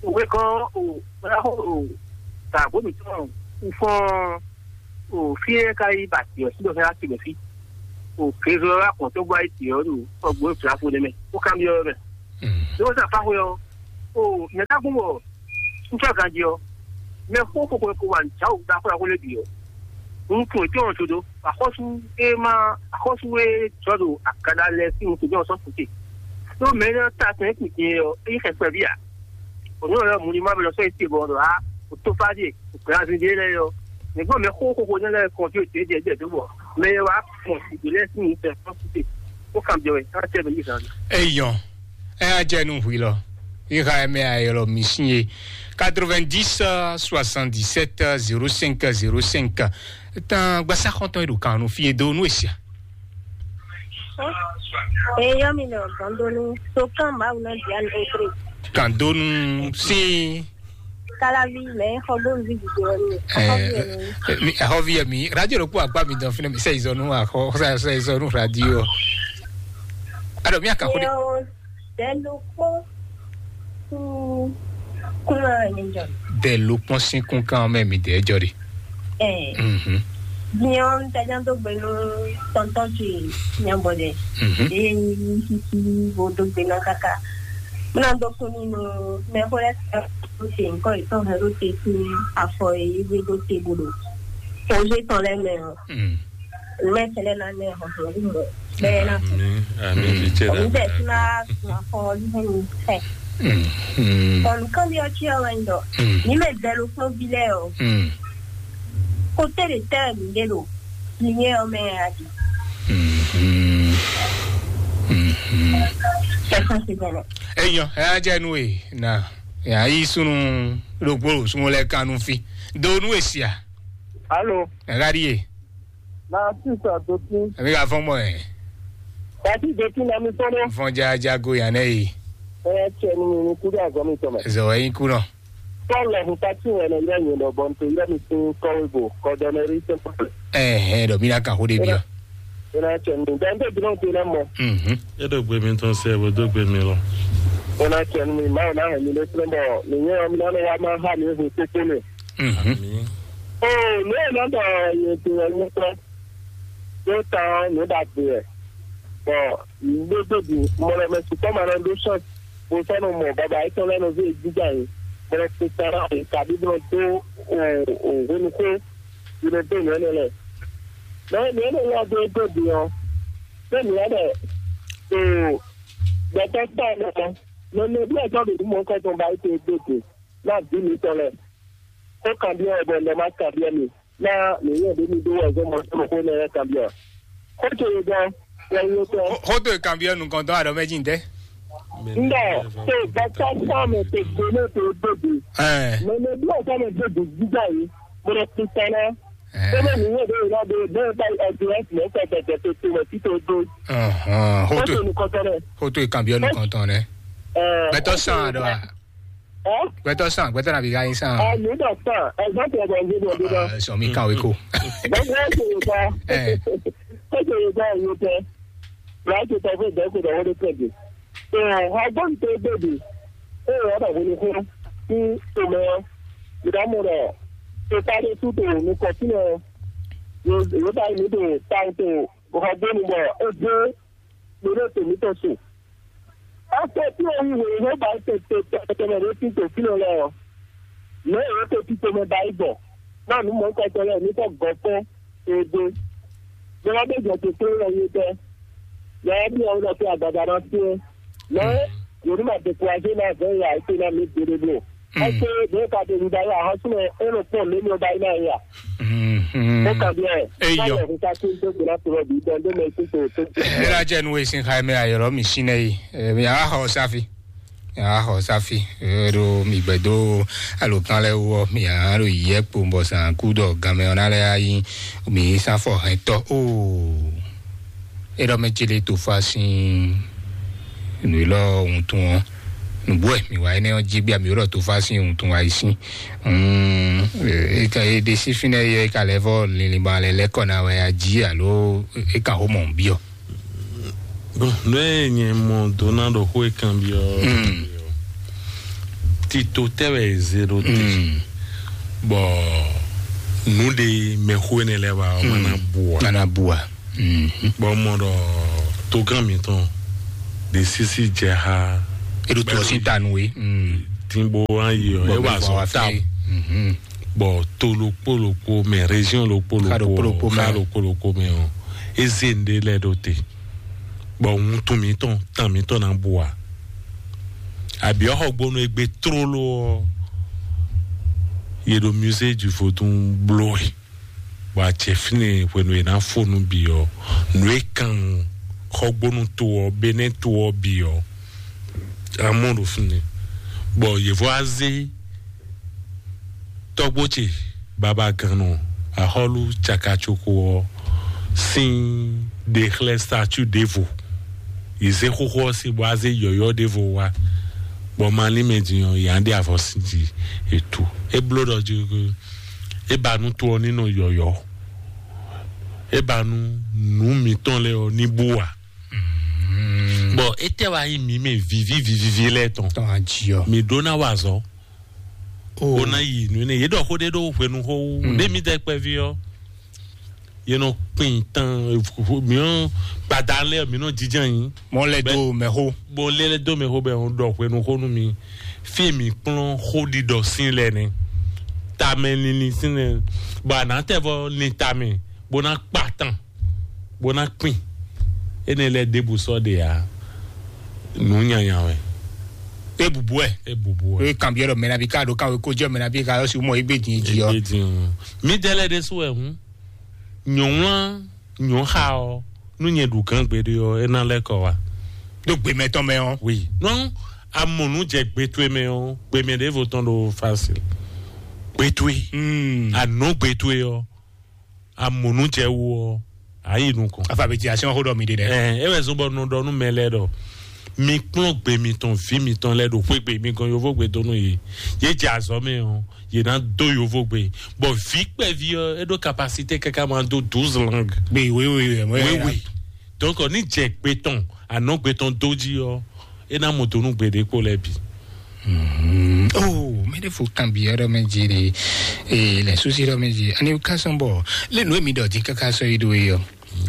O we kɔ o o ta ko mi tɔ ku fɔn. O fi e ka yi ba ti o si dɔ fɛ a ti mɛ fi. o kézo ɔ́ wá kɔn tó gbɔ ayé tě ɔ́ ɖo sɔgbo e fla fo nɛmɛ, ó kanbyɔ́ ɔ́ mɛ. Ló wá sá fáxwe ɔ́, o nyɛ ka gún bɔ un sɔ́ ganjí ɔ́, mɛ xó xóxó ko wà nǔ jǎ wǔ ɖaxó ɖaxó lɛ́ɛ bǐ ɔ́, un tunwun ètò ɔ́ sódó axɔ́sú e ma axɔ́sú e jɔ ɖo akada lɛ́ɛ sín nukún jɔ sɔ́ kúte. Ɖó mɛ énɛ́ ɔ́ ta tɛn kùn din ɔ́, é nyí xɛkpɛví ǎ. Ònú ɔ́ mu ní má bɛ lɔ sɔ́ yi te bɔ ɖɔ á, ò tó fá ɖíe, ò gbɛ azin ɖé lɛ́ɛ ɔ́, nǐgbɔn mɛ xóxóxó nɛ́ lɛ́ɛ kɔn fí òtě jɛ jɛ dó bɔ mɛ e wá kpɔn ìgbè lɛ́ɛ sín nǔ tɛ fɔ́n kúte, ó kan jɔ wɛ, é wá tɛ mɛ yí zan. Eyɔn, ɛ á jɛ nú hwi lɔ. Iha ɛmɛ ayɔlɔ mi sin ye. Quatre-vingt-dix, soixante-dix-sept, zéro cinq, zéro cinq. Tan gbasa xɔntɔn e ɖo kan nu fi e do nu esia. Eyɔ́ mi nɔ gɔndonu sokán Mawu náà dia ní étré. Kan donu sí. Kalavi mɛ xɔgbónu vi dìde wɛ mi. Ɛ, mi, ɛhɔvi yɛ mi radio ɖo kpó akpa mi dɔn fínɛ mi sɛ izɔnu axɔ sɛ sɛ izɔnu radio. Alo mi akan xo de. Yɛ o dɛlu kpó kún kún ɛ mi jɔ. Dɛlu kpɔn sí kún kan mɛ mi dɛ jɔ de. Ɛɛ. Mhm. Diɲɛ ɔ n tɛjá dó gbe nú tɔntɔn ce nyabɔ dɛ. Mhm. Eye nyi sisi bo dó gbe ná kaka. Muna dó kún ní nú mɛ xó lɛ sɛ ló ṣe nǹkan ìtàn hɛn ló ṣe sí afɔ èyí gbé dó te bolo. Kònzé tán lɛ mɛ ɔ. Mhm. Mɛ tẹlɛ ná nɛ hɔn hɔn wú mɔ. Bɛɛ ná fún. Àmì àmì fìtsẹ́ Òun dẹ̀ tún máa sùn afọ ọdún fún mi fẹ́. Mhm. Ọ̀nù kan bí ọtí ọ̀rọ̀ ń dọ̀. Mhm. Ní mẹ́ bẹ́ẹ̀ ló fún bílẹ̀ o. Mhm. Kó tẹ̀lé tẹ́lẹ̀ mi lé lo. Ìyẹn ọmọ ẹ̀ àdì. Mhm. Mhm. Ẹ̀sán ti bẹ̀rẹ̀. Eyɔn, ɛ á jɛ nú e na yà yí súnú ɖokpó súnmọ́ lɛ kánú fí. Donu èsìá. Alo. Ɛ ká ɖíe. Na sísè àdókín. Èmi ka fɔ́n mɔ ɛ. Kàtí ìdókín na mi tɔn dɛ. Fɔ́n jájá go yàn ɛ yìí. Ɛ tiẹ̀ ni mi kú dé àgọ́ mi tɔn mɛ. Zɔ ɛ yín kú nɔ. Pɔ́lù ẹ̀hún pátí wẹ̀ nà yẹ yẹn lọ bọ́n tó yẹ mi sín kọ́wé bò kọ́dọ́nẹ́rí sẹ́ńpọ̀lù. Ɛ ɛ dɔ mi na kan xó de bi ɔ. Ẹ náà tiẹ̀ ni dẹ́ńtẹ́ jùlọ tó iná mọ́. Mhm. E ɖo gbe mi tɔn sɛ bo dó gbe mi lɔ. Ẹ náà tiẹ̀ ni mi máa náà hẹ̀ mi lé fúnbọ̀ nìyẹn mi náà wá máa hà mí hùn kókó mi. Mhm. Àmì. Oo, ní ẹ̀ náà dọ̀ yẹn tó yẹ ní pẹ́. Yóò tán ní dàgbé ẹ̀. Bọ̀ gbégbé bì mọ̀lẹ́mẹ̀sì kọ́ máa lọ dó ṣọ́ọ̀ṣì. Mo fẹ́ nu mọ̀ bàbá yìí tán lẹ́nu bí gbígbà yìí. Bọ̀rọ̀ kò sára yìí tàbí bọ̀rọ̀ tó òhun kó ìrìn tó ìyẹn lẹ̀. Lẹ́yìn ìyẹn lè lọ́ọ́ dé gbèbí wọn. Bẹ́ẹ̀ ni wọ́n dẹ̀ tó gbẹ̀tẹ́ sáà náà. Lọ́nà bí ẹ̀tọ́ lè mú ọkọ̀ tó ń ba ètò ìgbèkè náà bí mi tọ́lẹ̀. Ó kàn bí ọ̀bẹ lọ má kàn bí ẹ̀mí. Náà nìyẹn bí mi dó wọ̀ ẹ̀gbọ́n mọ́ tó kó náà kàn bí ọ̀. Ó tó yẹ gan, wọ́n yóò tọ́. Xótó ìkànbí ọ̀nù kan tán àdó méjì ń tẹ́. Ndɔ te gbɛtɔ sɔmɛ te gbɛmɛ te gbɛbi. Ɛ. Mɛ ne bi ɔsɔ mɛ gbɛbi gbígbà yìí. Mo lè fi sẹ́nẹ́. Ɛ. Ó bẹ̀ nìyẹn bẹ́ẹ̀ náà bẹ́ẹ̀ bẹ́ẹ̀ bá ẹ̀dùn ẹ̀sìn ẹ̀sẹ̀ tẹ̀tẹ̀ tó tó wẹ̀ títí odó. Ahàn, Ó hoto tó ní kọ́tọ́ rẹ̀. Hoto ìkànbí ọ̀nù kan tán rẹ̀. Ɛ. Gbẹtọ sàn àdó a. Ɛ. Gbẹtọ sàn gbẹtọ nàbí ká yín sàn. Ɛ ní dọ̀ sàn ẹ̀gbọ́n tẹ̀ bọ̀ ní bọ̀ dídọ̀. Sọ mi kàwé kò. Gbẹtọ ẹ̀ ṣe yóò bá. Ɛ. Ó ṣe yóò bá ẹ̀yìn tẹ. Láti tọ́ fún ìdẹ́kùn ìdánwò tó tẹ̀lé. Ɛ, agbóhùn tó gbèdè, ɛ, ɔ́ bàbá ní fún sí tòmẹ́ ọ́. Ìdámọ̀ rẹ̀ tó sáré sú tò ní kọ̀tínà ọ́. Yóò bá ní tò táwọn tó ọ̀gbọ́n ní bọ̀ ó dé lórí ètò mi tó sùn. After tí o yí wòye ló bá tètè tẹ̀tẹ̀tẹ̀ lórí títò kí ló lọ ọ́. Lẹ́yìn tó ti tòmẹ́ bá yí bọ̀, náà ní mọ̀ ń kọ́ tẹ́lẹ̀ ní kò gọ́ fún ebe. Bọ́lá bẹ́ẹ̀ jẹ́ tó tó lọ yé tẹ́. Lọ́wọ́ bí ọ̀hún lọ sí àgbàdo náà sí ẹ. Lọ́wọ́ yòówù máa découragé náà fẹ́ yà ètò náà mi gbére bò. Ẹ ṣe bẹ́ẹ̀ ká tẹ̀lé ìdáyà àwọn súnmọ́ ẹ ló pọ̀ lónìí ọba iná yà. Ó kà bí ẹ. Eyọ. Báyọ̀ fún ká tó ń tó gbéra tó rọ̀ bí ìdán tó mọ̀ ẹ́ tó tó tó. Ẹ lajẹ nu esin ha ẹmẹ ayọrọ mi sinẹ yi. Ẹ mi a hɔ safi. A xɔ safi ɖo mi gbɛdo alokan lɛ wɔ mi a ɖo yiyɛ kpo bɔ san ku dɔ ganmɛ ɔna lɛ ayi mi sanfɔ hɛntɔ o. Eɖɔ mɛ tsele tofa sin nu lɔ ŋutun ɔ nugbo ɛ mi wa ɛnɛ ɔ dzi gbia mi ɖɔ tofa sin ŋutun ayi sin. Eka eɖe si finɛ yɛ eka lɛ vɔ linlin ba lɛ lɛ kɔ na wɛ adzi alo eka ho mɔ biɔ. Bon, nú ɛ nyɛ mɔ dó ná ɖo xó e kanbyɔ. Tito tɛ wɛ zero te. Bɔ nu de mɛxó ne lɛ wa ɔmɔ na bua. Nana bua. Bɔ mɔ ɖɔ togán mǐtɔn ɖe sísí jɛ xá. E ɖo to ɔ́ sín ta nú we. Dín bó wá yi ɔ, é wà zɔ ta. Bɔ to ɖokpó ɖokpó mɛ, région ɖokpó ɖokpó mɛ, xa ɖokpó ɖokpó mɛ ɔ, é zé nɖé lɛ ɖo te. Bɔ wuntun mǐtɔn, tan mǐtɔn ná bu a. Àbí ɔ́ xɔgbónú e gbé tlóló ɔ́, yě ɖo musée du Vodun bló ɛ. Bɔ a jɛ fínɛ́ hwenu e ná fó nú bǐ ɔ́, nǔ e kan xɔgbónú to ɔ́, Benɛ́ to ɔ́ bǐ ɔ́, a mɔ ɖo fínɛ́. Bɔ yě vɔ wá zé tɔ́gbó ce babagannɔ axɔ́lú cakacoko ɔ́ sín ɖexlɛ́ statue ɖěvo. Yě zé xóxó ɔ́ sín bɔ a zé yɔ̌yɔ́ ɖěvo wá. Bɔ malín mɛ din ɔ́, yě á ɖe avɔ sín jí ètò. É bló ɖɔ jí é ba nú to ɔ́ ní nɔ yɔ̌yɔ́. É ba nú nǔ mǐtɔn lɛ́ɛ ɔ́ ní bú ǎ. Bɔ étɛ́ wá nyí mǐ mɛ vǐví vǐví lɛ́ɛ tɔn? Tɔn ají ɔ. Mǐ ɖó ná wa azɔ̌. Bó ná yi nǔ énɛ́. Yě ɖɔ xó ɖé ɖó hwenu xó wú. Ɖé mǐ dɛ kpɛví ɔ́, yě nɔ kpin tán, mǐ nɔ gbada lɛ́ɛ, mǐ nɔ jijɛ nyi. Mɔ lɛ dó mɛ xó. Bó lé lɛ dó mɛ xó bɛ ɔn ɖɔ hwenu xó nú mi. Fí e mǐ kplɔ́n xó ɖiɖɔ sín lɛ nɛ. Tamɛ linlin sín lɛ. Bɔ a nǎ tɛ vɔ lin tamɛ bó ná kpa tán, bó ná kpin. Énɛ́ lɛ́ɛ ɖěbǔ sɔ́ ɖe ǎ. Nǔ nyanya wɛ. E bubu ɛ. E bubu wɛ. E kan biɛ ɖɔ mɛ na bi ka ɖo kan we ko jɛ mɛ na bi ka yɔ si mɔ egbe din ji ɔ. Egbe din ɔ. Mi dɛ lɛ ɖe su wɛ hun. Nyɔnwlán nyɔnxa ɔ, nú nyɛ ɖu gán gbeɖé ɔ, é ná lɛ́ kɔ wa. Ɖo gbe mɛtɔn mɛ ɔ. Oui. Nɔ amɔnu jɛ gbe towe mɛ ɔ, gbe mɛ ɖěvo tɔn ɖo facile. Gbe towe. Anɔ gbe towe ɔ, amɔnu jɛ wo ɔ, ayi nukɔn. Afa bɛ ti asi ɔn xó ɖɔ mi ɖe dɛ. Ɛ ɛ wɛ zɔn bɔ nɔ ɖɔ nú mɛ lɛ ɖɔ mi kplɔn gbe mitɔn vi mitɔn lɛ ɖo xwé gbe mi gɔn yovo gbe dó nú yě. Yě jɛ azɔ mɛ ɔ, yě ná dó yovo gbe. Bɔ vi kpɛvi ɔ, é ɖó capacité kaka ma dó douze langue. Gbe wewe wɛ mɔ. Wewe. Donc ní jɛ gbe tɔn, anɔ gbe tɔn dó jí ɔ, é ná mɔ dó nú gbe ɖé kpó lɛ bǐ. Oh, mɛ ɖé fo kan bi ɔ́ ɖɔ mɛ jí ɖe. Ee, lɛ susi ɖɔ mɛ jí. Ani ka sɔn bɔ lé nǔ mi ɖɔ jí kaka sɔ yi ɖo yi ɔ.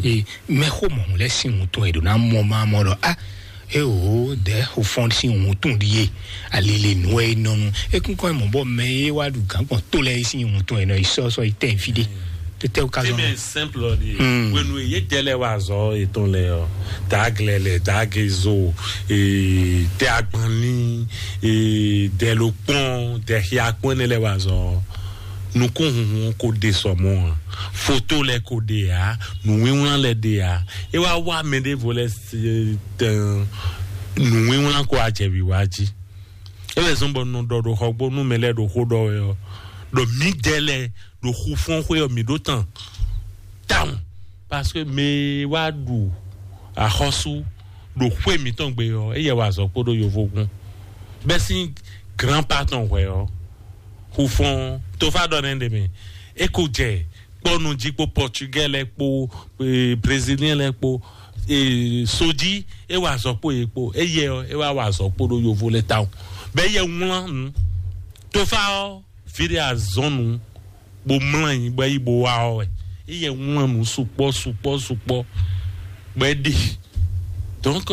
Ee, mɛ xo mɔ lɛ sin wutun e ɖo na mɔ ma mɔ ɖɔ a. E o dɛ o fɔn sin wutun ɖi ye. Ali le nǔ e nɔnu. E kún kɔn mɔ bɔ mɛ ye wa ɖu gán gbɔn to lɛ sin wutun e nɔ yi sɔ sɔ yi tɛ fi ɖe. Tete o ka zɔn. Simple ɔ di. Wenu ye dɛ lɛ wa zɔ etɔn lɛ ɔ. Daglɛ lɛ, dagezo, ee, tɛ agbanli, ee, dɛ lo kpɔn, dɛ xia kpɔn ne lɛ wa zɔ. Nukúnhùnhùn kò de sɔmɔ a, foto lɛ kò de a, nùwínwlán lɛ de a. E wá wá mɛ ɖěvo lɛ se tɛn nùwínwlán kò ajɛbi wá jí. E wɛ zɔn bɔ nɔ ɖɔ ɖo xɔgbó nú mɛ lɛ ɖo xó ɖɔ wɛ ɔ, ɖɔ mǐdɛɛ lɛ ɖo xu fɔ́n xwé ɔ mǐ ɖó tán tawun. Parce que mɛ e wá ɖu axɔ́sú ɖo xwé mǐtɔn gbe ɔ́, éyɛ́ wa azɔ̌ kpódó yovógun. Bɛ́ sín grand patɔn hwɛ ɔ́, xufɔ́n tófá ɖɔ nɛ́ ɖe mɛ. É ko jɛ kpɔ́nu jí kpó Portugais lɛ́ɛ kpó, eh, Brésilien lɛ́ɛ kpó, eh, sojí é wa azɔ̌ kpó yě kpó. Éyɛ́ ɔ́, é wá wa azɔ̌ kpódó yovo lɛ́ɛ tawun. Bɛ́ éyɛ́ wlán nǔ. Tófá ɔ́, fí ɖé azɔn nu bó mlɔ́ anyi bó yi bó wá ɔ́ wɛ. Iyɛ wlán nǔ sukpɔ́ sukpɔ́ sukpɔ́ bó é ɖi. Donc,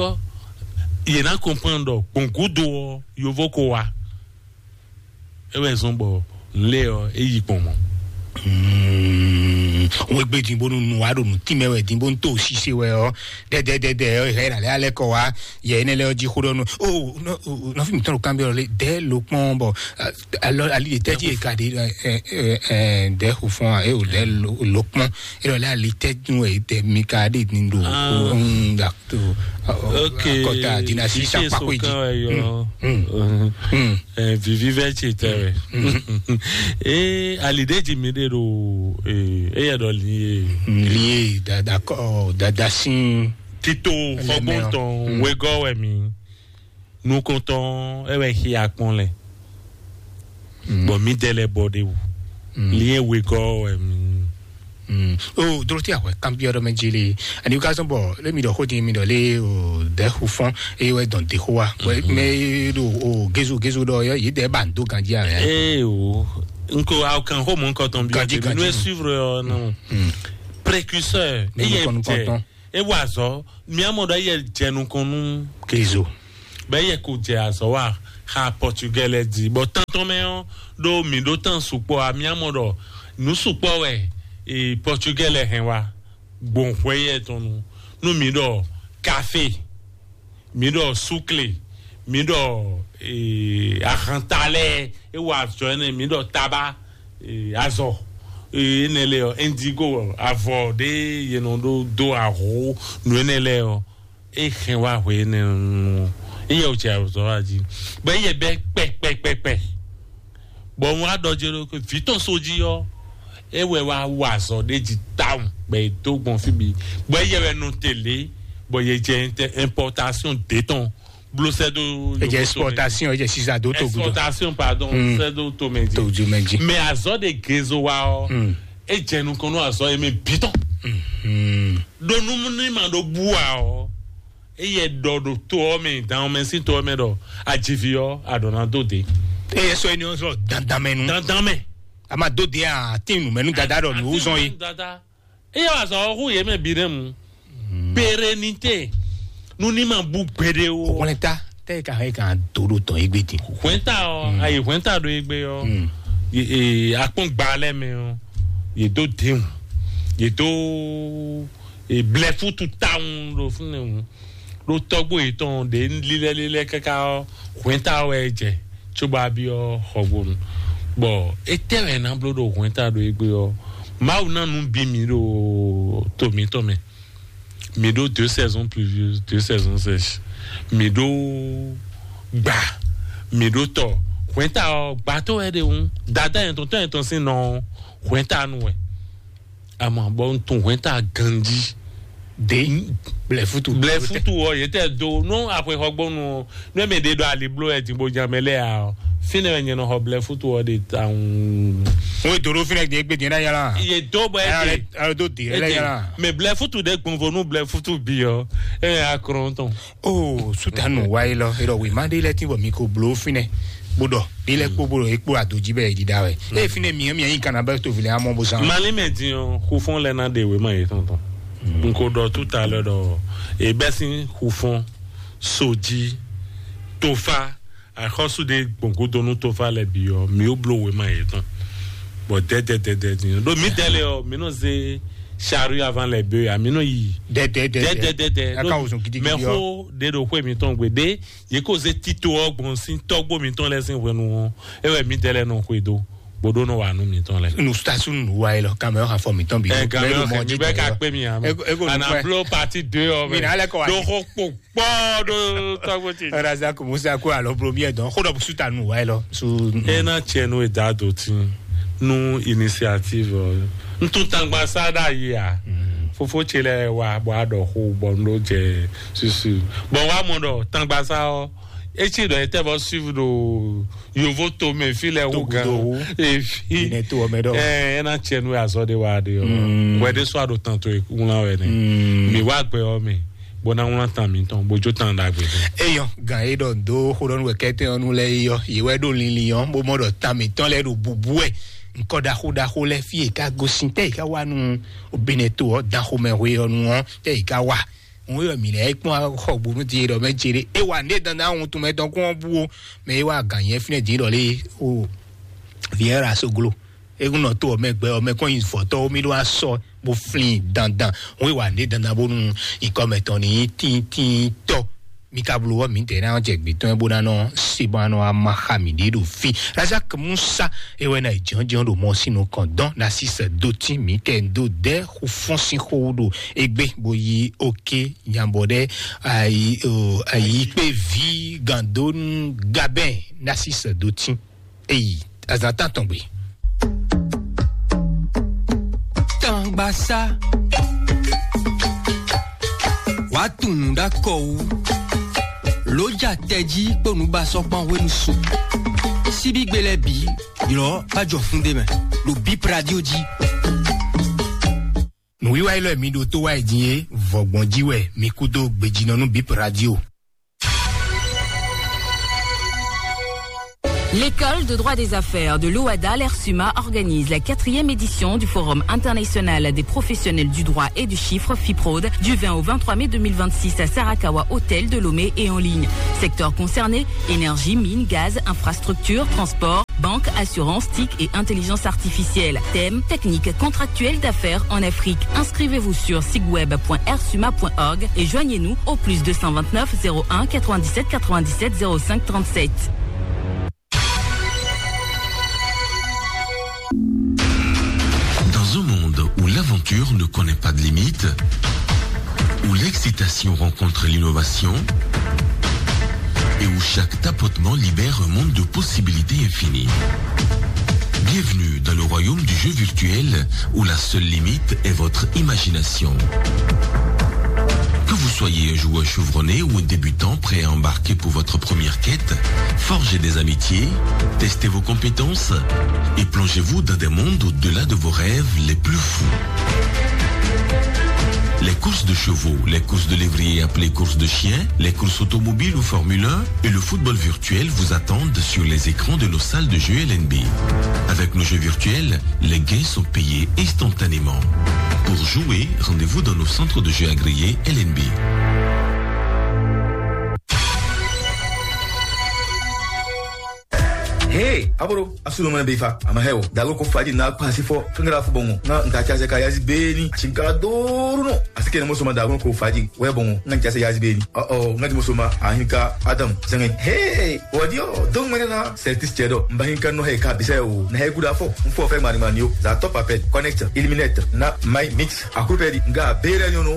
yě ná comprendre ɖɔ gbɔn gúdo ɔ́, yovo ko wá. É wɛ zɔn bɔ lé ɔ́, é yi gbɔn mɔ. Wọ́n gbé dín bónú nu wá ɖo nǔ tínmɛ wɛ dín bónú tó ṣiṣẹ́ wɛ ɔ́ dɛdɛdɛdɛ ɔ́ hɛ ìrànlẹ́ alẹ́ kɔ wá yɛ énɛ́ lɛ ɔ́ jí xó ɖɔ nú o nɔfí mi tɔn ɖo kanbyɔ lé dɛ ló kpɔn bɔ alɔ ali de tɛji e ka de ɛ ɛ dɛ xo fɔn a e o dɛ ló kpɔn e lɔ lɛ ali tɛju e dɛ mi ka de ni do da to akɔta dina si sa kpakpo yi ji. Vivi vɛ tsi tɛ wɛ. Ee, ali de ji mi de do ee eya dɔ li ye. Li ye dada kɔ dada sin. Tito xɔgbɔntɔn wegɔ wɛ mi. Nukɔntɔn ɛ wɛ xia kpɔn lɛ. Bɔn mi dɛ lɛ bɔ de wu. Li ye wegɔ wɛ mi. O dorote awɛ kanbiɔ dɔ mɛ jeli ani ka sɔn bɔ le mi dɔ xo di mi dɔ le o dɛ xu fɔn eye wɛ dɔn de xo wa wɛ mɛ do o gezu gezu dɔ yɔ yi dɛ ba n do ganji a. Ee o nko aw kan xo mɔ nkɔtɔn bi ganji ganji nu e suivre yɔ nɔ. Précurseur, eye jɛ, e wa azɔ, mi amɔ ɖɔ eye jɛ nukɔn nú Kezo. Bɛ eye ko jɛ azɔ wa xa Portugais lɛ di. Bɔ tantɔn mɛ ɔ, ɖo mi ɖo tan sukpɔ a, mi amɔ ɖɔ nu sukpɔ wɛ e Portugais lɛ hɛn wa gbɔn hwɛ yɛ tɔn nu. Nu mi ɖɔ café, mi ɖɔ sukle, mi ɖɔ eh, ahanta lɛ, e wa azɔ ɛnɛ, mi ɖɔ taba, eh, azɔ, eh, enɛ lɛ ɔ, indigo, avɔ ɖe ye nɔ ɖo do aho nu enɛ lɛ ɔ, e hɛn wa hwe enɛ nu, e yɛ o cɛ azɔ wa ji, bɔ e yɛ bɛ kpɛkpɛkpɛkpɛ. Bɔ un wá ɖɔ jɛ ɖo vǐ tɔn so jí ɔ́, é wɛ wá wa azɔ ɖé jí tawun bɔ è dó gbɔn fí bǐ, bɔ é yɛ wɛ nɔ tɛlé, bɔ yě jɛ importation ɖé tɔn bló sɛ́ dó. Ejɛ exportation, ejɛ sisa dó to gudɔ. Exportation, pardon, sɛ́ dó to mɛ jí. To ju mɛ jí. Mais azɔ de gezo wa ɔ, e jɛ nukɔn nú azɔ yɛ mɛ bitɔn. Ɖo nu ní ma ɖo bua ɔ, eye ɖɔ ɖo to ɔ mɛ, dan ɔ mɛ sín to ɔ mɛ ɖɔ ajivi ɔ aɖɔ na dó de. Eye sɔ eniyan sɔ dandan mɛ nu. Dandan mɛ. A ma dó de a ti nu mɛ nu dada ɖɔ nu zɔn ye. Dada. Eye wa sɔ hu ye mɛ bi ɖe mu. Pérennité. Nu ní ma bú gbede o. Wọlé ta tẹ́ ka hɛn kan dó ɖo tɔn egbe din. Hwɛnta ɔ, ayi hwɛnta ɖo egbe ɔ. Ye- ye- Akpɔn gba lɛ mɛ ɔ, ye dó déhùn, ye dó e blɛ futu tawun ɖo fúnɛ ŋu. Ɖo tɔgbo yetɔn ɖe lílɛ́lílɛ́ káká ɔ, hwɛnta wɛ jɛ tso bɔ abi ɔ xɔgbonu. Bɔ etɛ wɛ na bló ɖo hwɛnta ɖo egbe ɔ, Mawu na nu bi mi ɖo to mitɔn mɛ. Mi ɖó deux saisons pluvieuses, deux saisons sèches. Mi ɖó gba, mi ɖó tɔ. Hwɛnta ɔ, gba tó wɛ ɖe ŋu. Dada yɛn tɔn tɔn yɛn tɔn sín nɔ hwɛnta nu wɛ. Ama bɔ n tun hwɛnta ganji. De blɛ futu. Blɛ futu ɔ, yɛ tɛ do. No axwe xɔgbɔnu ɔ, ne mɛ ɖe ɖo ali blo ɛ din bo jan mɛ lɛ ya ɔ, fine wɛ nyɛ nɔ xɔ blɛ futu ɔ de tawun. Ŋun do ɖo fínɛ gbé gbé dín ɖá yàrá. Ye do bɔ ɛ de. Alo do dé lɛ yàrá. Mɛ blɛ futu de gbɔnvo nu blɛ futu bi ɔ, ɛ yà kɔrɔn tɔn. O sutanu wa yi lɔ, erɔ wi ma ɖe lɛ ti bɔ mi ko blo fínɛ, bó ɖɔ ɖe lɛ kpó bó ɖɔ ekpó adoji bɛ yi ɖiɖa wɛ. E fínɛ mi mi yi kana bɛ to vilɛ amɔ bó san. Mali mɛ din ɔ, xufɔn lɛ na ɖe wema yetɔn tɔn. N ko ɖɔ tout à l'heure ɖɔ e bɛ sin xufɔn, soji, tofa, axɔsu ɖe gbɔn godo nú tofa lɛ bi ɔ, mi ó bló wema yetɔn. Bɔ dɛdɛdɛdɛ din ɖo mi dɛlɛ ɔ, mi nɔ ze chari avan lɛ be a mi nɔ yi. Dɛdɛdɛdɛ. Dɛdɛdɛdɛ. Aka wosɔn gidigidi ɔ. Mɛ xo ɖe ɖo xwe mitɔn gbe ɖe ye ko ze tito ɔ gbɔn sin tɔgbo mitɔn lɛ sin hwenu ɔ, e wɛ mi dɛlɛ nɔ xwe do. Boɖó nɔ wa nú mitɔn lɛ. Nu station nu wa yi lɔ, kamɛ ɔ xafɔ mitɔn bi. Ɛ, kamɛ ɔ xɛ mi bɛ ka kpé mi a mɛ. Ana blo partie deux ɔ mɛ. Mi na lɛ kɔ wa. Ɖo xɔ kpo kpɔ ɖo tɔgbo ti. Raza ko musa ko alɔ blo mi ɛ dɔn. Xo dɔ bu suta nu wa yi lɔ. Su. E na tiɛ nu e da do ti nu initiative ɔ. N tun tangba sa ɖa yi a. Fofo ce lɛ wa bɔ a ɖɔ xo bɔ n ɖo jɛ susu. Bɔn wa mɔ ɖɔ tangba sa ɔ. Etsi ɖɔ etɛ bɔ suivre ɖo yovo to mɛ fi lɛ wo gan. Efi. Ine to ɔmɛ ɖɔ. Ɛ ena tsɛ nu azɔ de wa de ɔ. Wɛ de sɔ aɖo tan to ŋla wɛ ne. Mi wa gbɛ ɔ mɛ. Bɔ na ŋla tan mi tɔn bo jo tan ɖagbe. Eyɔ gan e ɖɔ do xo ɖɔ nu wɛ kɛtɛ ɔnu lɛ yɔ yi wɛ ɖo linlin yɔ bo mɔ ɖɔ tan mi tɔn lɛ ɖo bubu wɛ. Nkɔ ɖaxo ɖaxo lɛ fi yi ka gosin tɛ yi ka wa nu obinɛ to ɔ dan xo mɛ hwe ɔnu ɔ tɛ yi ka wa. Ŋun yɔ mi lɛ kpɔn xɔ gbonu ti ɖɔ mɛ jere e wa ne dandan ahun tun mɛ tɔn kɔn bu o. Mɛ e wa gan yɛ finɛ di ɖɔ le o. Viera soglo egun nɔ to ɔmɛ gbɛ ɔmɛ kɔn yi vɔtɔ mi ɖo asɔ bo flin dandan. Ŋun wa ne dandan bonu ikɔ mɛ tɔn ni tintin tɔ. Mi ka blo wɔ mi tɛ na jɛ gbe tɔn bo na nɔ se bɔ anɔ ama xa mi ɖe ɖo fi. Razak Musa e wɛ na jɔnjɔn ɖo mɔ sinu kɔn dɔn na sisɛ do ti mi tɛ do dɛ xo fɔn sin xo ɖo egbe bo yi oke nyabɔ ɖe ayi o ayi kpe vi gandonu gabɛn nasi sɛ do tin eyi azan tan tɔn gbe. Tangbasa. Wàá tún nǔ ɖó akɔ wú. Lǒ ja tɛjí kpó nǔbasɔ́kpán hwenu su. Síbígbe lɛ́ɛ bǐ ylɔ̌ bá jɔ fún ɖé mɛ ɖo Bip Radio jí. Nǔwiwa élɔ́ e mi ɖo tó wá yi din é, vɔ̌gbɔn jí wɛ mi kú dó gbejínɔ nú Bip Radio. L'école de droit des affaires de l'OADA, l'ERSUMA, organise la quatrième édition du Forum international des professionnels du droit et du chiffre, FIPROD, du vingt au vingt-trois mai deux mille vingt-six à Sarakawa Hotel de Lomé et en ligne. Secteurs concernés, énergie, mines, gaz, infrastructure, transport, banque, assurance, TIC et intelligence artificielle. Thème, technique contractuelle d'affaires en Afrique. Inscrivez-vous sur sigweb point ersuma point org et joignez-nous au plus deux cent vingt-neuf zéro un quatre-vingt-dix-sept quatre-vingt-dix-sept zéro cinq trente-sept. Dans un monde où l'aventure ne connaît pas de limite, où l'excitation rencontre l'innovation et où chaque tapotement libère un monde de possibilités infinies. Bienvenue dans le royaume du jeu virtuel où la seule limite est votre imagination. Que vous soyez un joueur chevronné ou un débutant prêt à embarquer pour votre première quête, forgez des amitiés, testez vos compétences et plongez-vous dans des mondes au-delà de vos rêves les plus fous. Les courses de chevaux, les courses de lévriers appelées courses de chiens, les courses automobiles ou Formule un et le football virtuel vous attendent sur les écrans de nos salles de jeu L N B. Avec nos jeux virtuels, les gains sont payés instantanément. Pour jouer, rendez-vous dans nos centres de jeu agréés L N B. Hey, aboro, asu no mene befa, ama heo. Dago ko faji na kwa si fo, kengara fu bongo. Na nka cha se ka yazi beni, chinka doru no. Asike ne mo soma dago ko faji, we bongo. Na cha se yazi beni. Oh oh, na mo soma, ahinka Adam. Senge. Hey, wadio, dong mene na, seltis chedo. Mbahinka no he ka bise o. Na he guda fo. Mfo fe mari mani o. Za top apel, connect, eliminate. Na my mix. Akupeli nga bere nyono.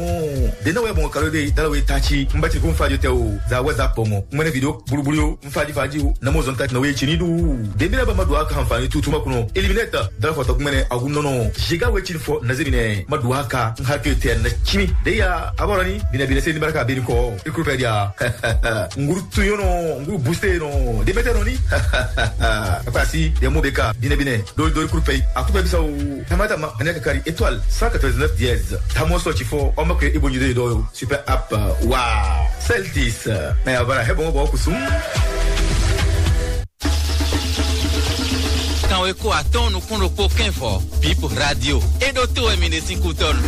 Dena we bongo kalo de, dala we tachi. Mbati ko faji te o. Za WhatsApp bongo. Mene video bulubulu yo. Mfadi fadi o, na mo zɔn tati na we chini du. Dembele ba ma do aka hanfani tutu ma kuno. Eliminate, dala fɔ tɔkumɛnɛ agun nɔnɔ. Jiga we chini fɔ na zemine. Ma do aka, n ha ke te na chimi. De ya, abarani, bina bina se ni baraka bini ko. Ikuru pɛ dia. Nguru tu yono, nguru booster no. Demete no ni. Apa si, ya mo beka, bina bina. Dori dori kuru pɛ. Aku pɛ bisa o. Tamata ma, anya kakari étoile cent quatre-vingt-dix-neuf dièse. Tamo so chifo, o ma ke ibo nyi de do. Super app, wow. Celtis, na ya bara hebo bo kusum. Kan we ko atɔn nukun ɖokpó kɛnfɔ, Bip Radio. E ɖo to wɛ mi ɖe sín kútɔnu.